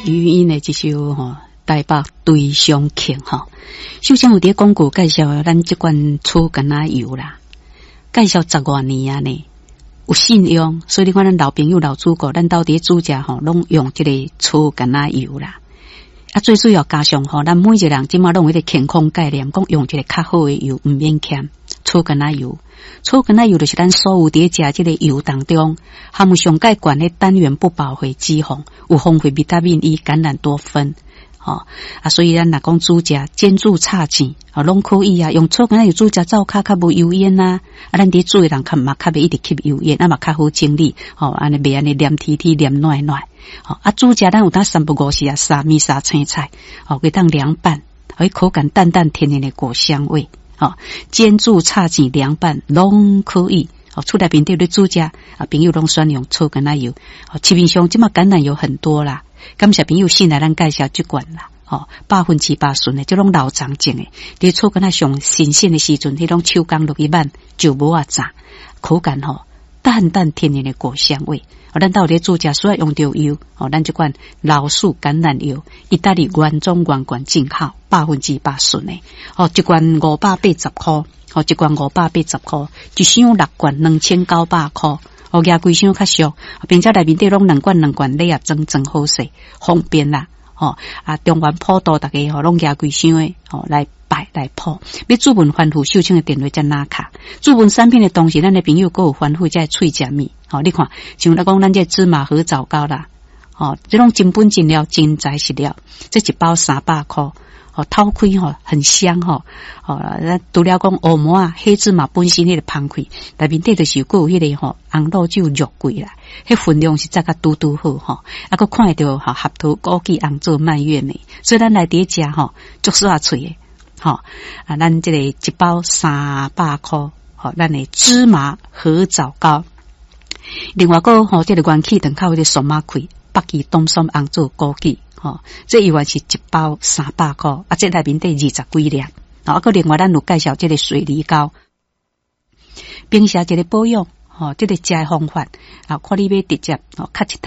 余音的這首吼《台北追想曲》吼。首先有佇廣告介紹咱這罐草橄欖油啦，介紹十外年啊呢，有信用，所以你看咱老朋友老主顧，咱兜佇煮食吼，攏用這個草橄欖油啦。啊，最主要加上吼，咱每一個人這馬攏有彼個健康概念，講用一個較好的油，毋免儉草橄欖油。草橄欖油就是咱所有佇食這個油當中，含有上蓋懸的單元不飽和脂肪，有豐富維他命 E、橄欖多酚。吼啊，所以咱若講煮食煎煮炒煎，吼攏可以啊。用草橄欖油煮食，灶跤較無油煙啊。啊，咱佇煮的人較嘛較袂一直吸油煙，啊嘛較好整理。吼，按呢袂按呢黏貼貼黏軟軟。吼啊，煮食咱有當三不五時啊，沙米沙青菜，吼，會當涼拌，予口感淡淡甜甜的果香味。吼，煎煮炒煎涼拌攏可以。哦，厝內面佇咧煮食啊，朋友攏選用草橄欖油。哦，市面上這馬橄欖油很多啦。感謝朋友信賴咱介紹這罐啦，吼，100%純的，這攏老欉種的。佇草橄欖上新鮮的時陣，彼種手工落去挽就無啊炸，口感吼淡淡甜甜的果香味。哦，咱兜咧煮食需要用著油，哦，咱這款老樹橄欖油，意大利原裝原罐進口，百分之百純的。哦，一罐580箍，哦，一罐580箍，一箱六罐2900箍。哦，舉規箱較俗，並且內面底攏兩罐兩罐禮盒裝裝好勢，方便啦。吼啊，中元普渡逐家吼攏舉規箱的吼來拜來普。欲諮問番付秀清的電話才拿卡。諮問產品的同時，咱的朋友閣有番付這喙食物。吼，你看，像來講咱這芝麻褐棗糕啦，吼，這種真本真料真材實料，這一包300箍。哦，透開吼很香吼，哦，咱除了講烏毛仔黑芝麻本身彼個芳氣，內面底就是閣有彼個吼紅露酒肉桂啦，彼分量實在較拄拄好吼，啊，閣看會著吼合桃枸杞紅棗蔓越莓，所以咱來佇食吼足煞喙的吼，啊，咱這個一包三百箍，吼，咱的芝麻褐棗糕，另外閣吼這個元氣糖較有彼個酸仔開，北芪冬筍紅棗枸杞。吼，這猶原是一包三百箍，啊，這內面底二十幾粒，啊，閣另外咱有介紹這個水梨膏，平時一個保養，吼，這個食的方法，啊，看你欲直接吼，較一湯。